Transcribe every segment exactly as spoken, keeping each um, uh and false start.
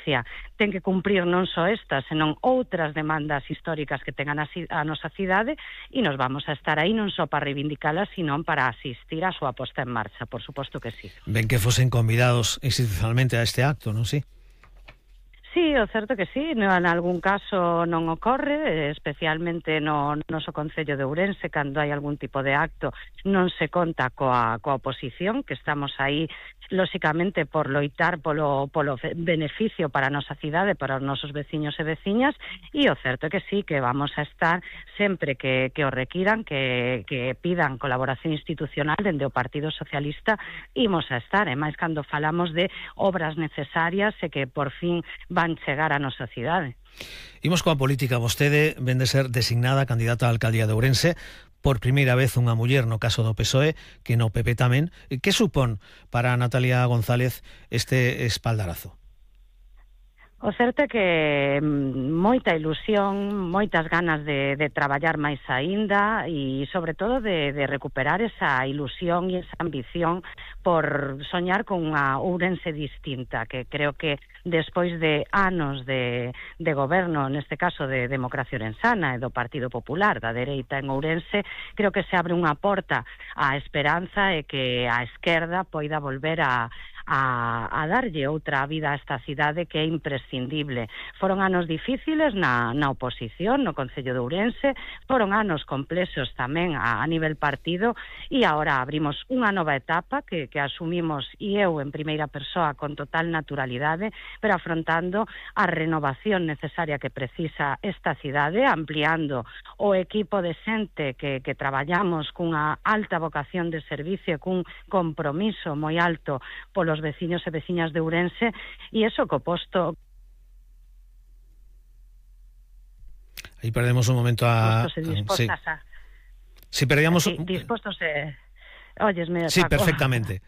Galicia ten que cumprir non só estas, senón outras demandas históricas que tengan a, a nosa cidade, e nos vamos a estar aí non só para reivindicalas, sino para asistir a súa posta en marcha, por suposto que sí. Ben que fosen convidados institucionalmente a este acto, non si? Sí, o certo que sí, no, en algún caso non ocorre, especialmente no noso Concello de Ourense, cando hai algún tipo de acto non se conta coa, coa oposición, que estamos aí lóxicamente por loitar polo, polo beneficio para a nosa cidade, para os nosos veciños e veciñas, e o certo é que sí, que vamos a estar sempre que, que o requiran, que, que pidan colaboración institucional dende o Partido Socialista, imos a estar, e máis cando falamos de obras necesarias e que por fin van chegar á nosa cidade. Imos coa política. Vostede ven de ser designada candidata á alcaldía de Ourense, por primeira vez unha muller no caso do P S O E, que no P P tamén. Que supón para Natalia González este espaldarazo? O certo é que moita ilusión, moitas ganas de, de traballar máis aínda e, sobre todo, de, de recuperar esa ilusión e esa ambición por soñar con unha Ourense distinta, que creo que despois de anos de, de goberno, neste caso de Democracia Ourensana e do Partido Popular, da dereita en Ourense, creo que se abre unha porta á esperanza e que a esquerda poida volver a A, a darlle outra vida a esta cidade que é imprescindible. Foron anos difíciles na, na oposición, no Concello de Ourense, foron anos complexos tamén a, a nivel partido, e agora abrimos unha nova etapa que, que asumimos, e eu en primeira persoa con total naturalidade, pero afrontando a renovación necesaria que precisa esta cidade, ampliando o equipo de xente que, que traballamos cunha alta vocación de servicio, cun compromiso moi alto polo os veciños e veciñas de Ourense, e iso co posto. Aí perdemos un momento a... Dispostos e dispostas sí. a... Si perdíamos... Sí, dispostos e... Óyesme, Sí, Paco. perfectamente.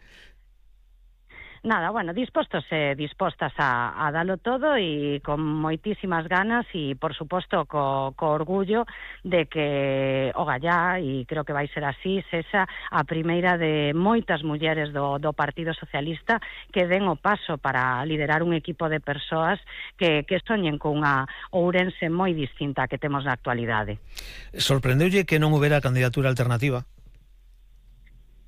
Nada, bueno, dispostos e dispostas a, a dalo todo e con moitísimas ganas e, por suposto, co, co orgullo de que o Gallá, e creo que vai ser así, sexa a primeira de moitas mulleres do, do Partido Socialista que den o paso para liderar un equipo de persoas que, que soñen con unha Ourense moi distinta que temos na actualidade. Sorprendeulle que non houbera candidatura alternativa?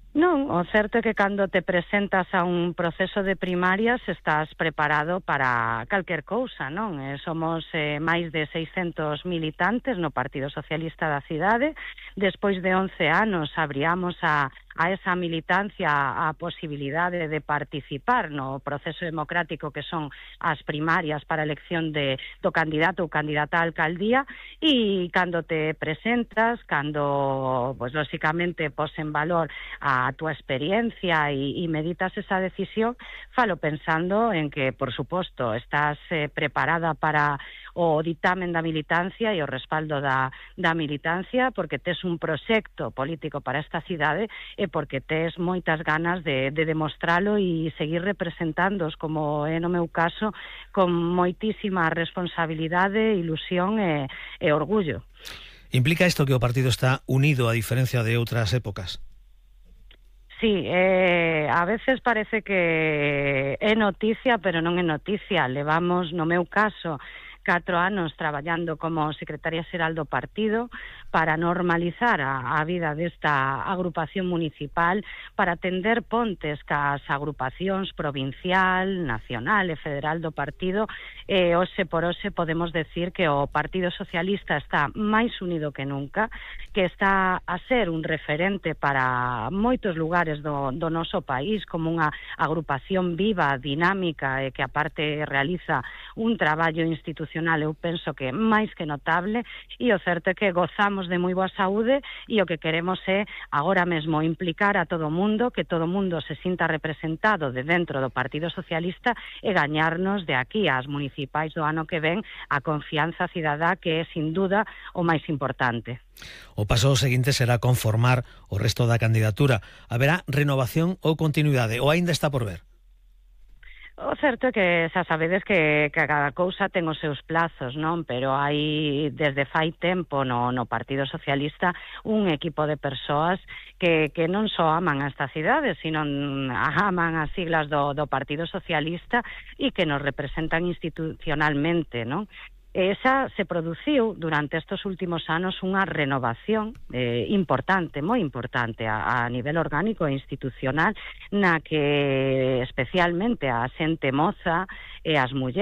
Non, o certo é que cando te presentas a un proceso de primarias estás preparado para calquer cousa, non? Eh, somos eh, máis de seiscentos militantes no Partido Socialista da cidade. Despois de once anos abríamos a a esa militancia a posibilidade de participar no proceso democrático que son as primarias para a elección de, do candidato ou candidata á alcaldía, e cando te presentas, cando, pues, lóxicamente, pos en valor a túa experiencia e, e meditas esa decisión, falo pensando en que, por suposto, estás eh, preparada para o ditamen da militancia e o respaldo da, da militancia, porque tes un proxecto político para esta cidade e porque tes moitas ganas de, de demostralo e seguir representándoos, como é no meu caso, con moitísima responsabilidade, ilusión e, e orgullo. Implica isto que o partido está unido a diferencia de outras épocas? Sí, eh, a veces parece que é noticia, pero non é noticia. Levamos, no meu caso, catro anos traballando como secretaria xeral do partido para normalizar a, a vida desta agrupación municipal, para tender pontes cas agrupacións provincial, nacional e federal do partido, e hoxe por hoxe podemos decir que o Partido Socialista está máis unido que nunca, que está a ser un referente para moitos lugares do, do noso país, como unha agrupación viva, dinámica, e que aparte realiza un traballo institucional, eu penso que máis que notable, e o certo é que gozamos de moi boa saúde, e o que queremos é agora mesmo implicar a todo o mundo, que todo o mundo se sinta representado de dentro do Partido Socialista e gañarnos de aquí ás municipais do ano que ven a confianza cidadá, que é sin duda o máis importante. O paso seguinte será conformar o resto da candidatura. Haberá renovación ou continuidade, ou aínda está por ver? O certo é que xa sabedes que, que cada cousa ten os seus plazos, non? Pero hai desde fai tempo no, no Partido Socialista un equipo de persoas que, que non só aman a esta cidade, sino aman as siglas do, do Partido Socialista e que nos representan institucionalmente, non? Esa se produciu durante estes últimos anos unha renovación eh, importante, moi importante a, a nivel orgánico e institucional, na que especialmente a xente moza e as mulleres